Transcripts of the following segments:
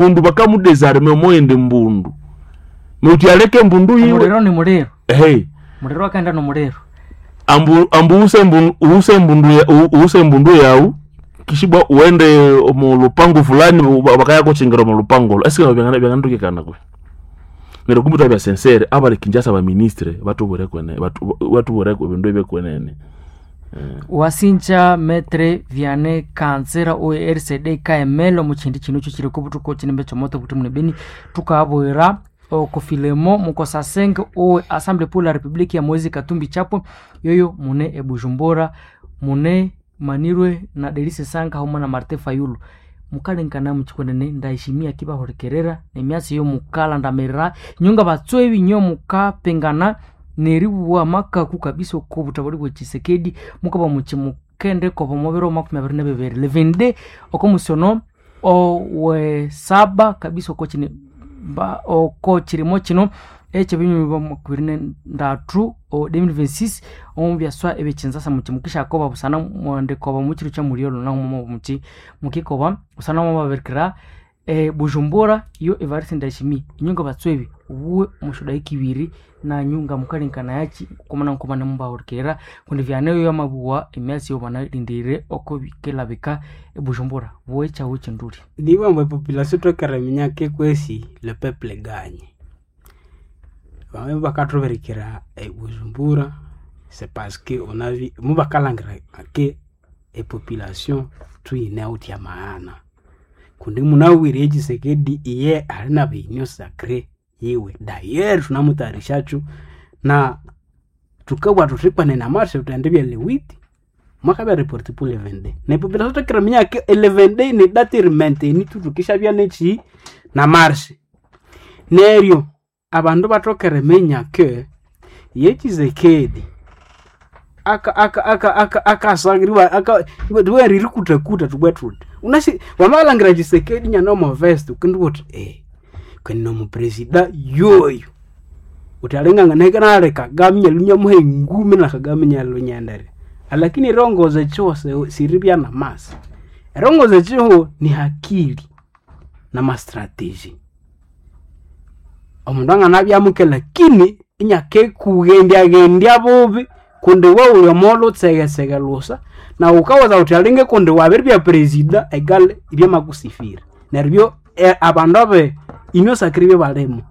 Mbundu bakamudésarmer omoyindi mbundu meuti aleke mbundu yiwe. Omuliro ni muliro. Hey. Muliro akaenda nomuliro. Ambu ambu use mbundu use mbundu use mbundu yau kishibwa uende omu lupango fulani, bakaya kuchingira omu lupango lo esike byangantukikana kwe. Neryo kumbe twabya sincere abali Kinshasa baministre batubwire kwene, batubwire ebindu ebyekwenene. Wasinja Metre Vianney Kanzira owe RCD KML omu kindi kino ekyo kiri obutuku ekinimba ekyomoto obuti beni tukabwira okufilemo mukosasenge owe Assemblée pour la République ya Moise Katumbi Chapwe yoyo mune ebujumbura mune manirwe na Delise Sanka hauma na Martin Fayulu. Mukalenkana mukikwenene ndaheshimia kibahulikerera nemyatsi yo mukalandamirira nyunga batswebi nyo mukapingana neribwa makaku kabisa oko butabali bwa Tshisekedi mukaba muki mukende koba mubiro 22 levende oko musono owe saba kabisa oko kine ba oko kirimo kino ekyo binyuma 23 o 2026 omu byaswa ebikinzasa muki mukisha koba busana mwande koba mukiro kya muliolo na mu muki mukikoba busana mu babirikira Bujumbura iyo Evariste Ndayishimiye inyunga batswebi ubuwe mushoda ikibiri na nyunga mukalinkana yaki kumana nkumana mubahurikira kundi vyaneyo yamabuwa emyasi yo banalindire oko bikelabika ebujumbura buwe chawo chinduli. Niba population twekereminya ke kwesi le peuple gagne. Bamwe bakathuberikira ebujumbura c'est parce que on a vu mubakalangira ke epopulation tuyine out ya maana kundi munawire Tshisekedi iye ali na binyo sacré yiwe. D'ailleurs tunamutayarishacho na tukabwa tuthikwane na marche tutende bya lewiti mwakabya report pour le 22 ne population twekereminya ke le 22 ni date rimenteni tutukisha bya nechi na marche. Neryo abandu bathokereminya ke ye Tshisekedi aka aka aka aka akasangiriwa aka riri tubwe tuti unasi wamalangira Tshisekedi nyana omovest ukindi uti kweni nomupresida yoyo uti alingangana nale Kagame nyalunya muhe ngumi na Kagame nyalunyendere, lakini erongoza echiho siribya na masi. Erongoza echiho ni hakili na mastrategy. Omundu anganabyamuke lakini inyakekughendyagendya bubi kundi we uli omolho utsegesege lusa na ukawaza uthi alinge kundi wabiribya presida egale ibyamakusifira. Neryo abandu abe inyosakire ibyo balimo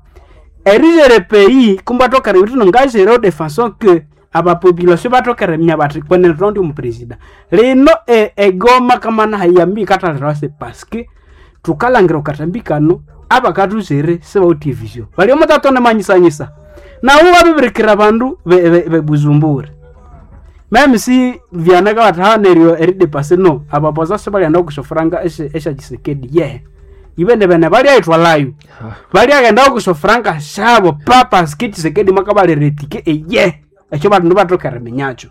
erijere pei kumbe athokere ebithu ngazire de façon que abapopulation bathokere eminya bathi kwenene thundi omupresida lino egoma kamana hayambi ikatalirawa se parce thukalangira okatambi kano abakathuzire sibawithe vision bali omutatone manyisanyisa nawu babibirikira abandu bebuzumbura meme si vyanaka bathi neryo eridepase no abapoza sibalyenda okusyofuranga esya Tshisekedi ye ibene bene balyayithwalayo balyaghenda okusyofuranga syabo papas ki Tshisekedi mwakabalira etike eye ekyo bandu bathokere eriminyakyo.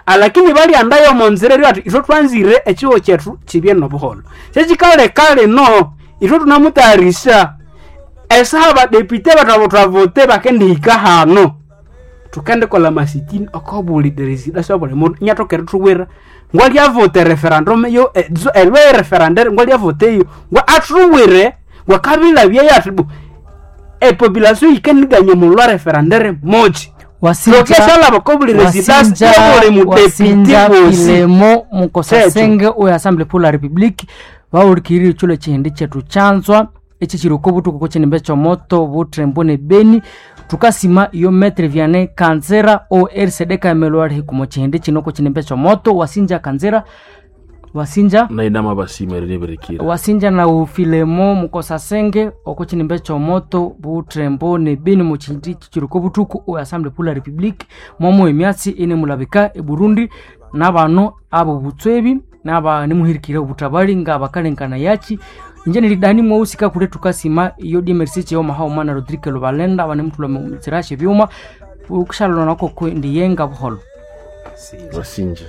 Alakini balyandayo omonzira eryo athi ithwe thwanzire ekihugho kyethu kibye nobuholho. Kyekikaleka lino ithwe thunamutayarisha esaha abadepite bethu abo twavote bakendihika hano thukendikolha amasitini oko buli resida syabuli mundu inyathoka erithuwira ngwalyavote referendum yo elwe referendum ngwalyavote eyo ngwa athuwire ngwakabilabyeyo athi bu epopulation yikendiganya omulwa referendum moji. Lokeshalaba kobuli residence yobuli mudepite wosi. Filemo mukosasenge oyo Assemblée pour la République bawulikirire ekyolo ekihindi kyethu kyanzwa ekyi kiri oko butuku kokinimba ekyomoto buthembo ne Beni. Thukasima iyo Metre Vianney Kanzira o RCD KML ali hikumo kihindi kino kokinimba ekyomoto. Wasinja Kanzira wasinja nainama basima erinibirikira wasinja na ufilemo mukosasenge oko kinimba ekyomoto buthembo ne Beni mu kihindi kiri oko butuku o Assemblée pour la République mwamu emyatsi enemulabika e Burundi nabano abo butswebi naba nimuhirikire obutabali nga bakalenkana yaki. Inje nilidani mwausika kule tukasima iyo DMRC cheo mahao mana Rodrigue Lubalenda banemutula mu tsirashe byuma ukushalona nako ndiyenga buholo. Wasinja.